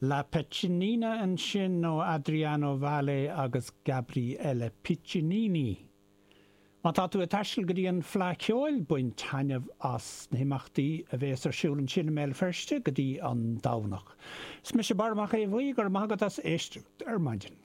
La Piccinina ansin ó Adriano Valle agus Gabriele Piccinini. Má tá tú ag taisteal go dtí an Fleadh Cheoil, bain taitneamh as na himeachtaí a bhéas ar siúl ansin i mBéal Feirste go dtí an Domhnach. Is mise Barra Mac Aodha Bhuí, go raibh maith agat as éisteacht ar maidin.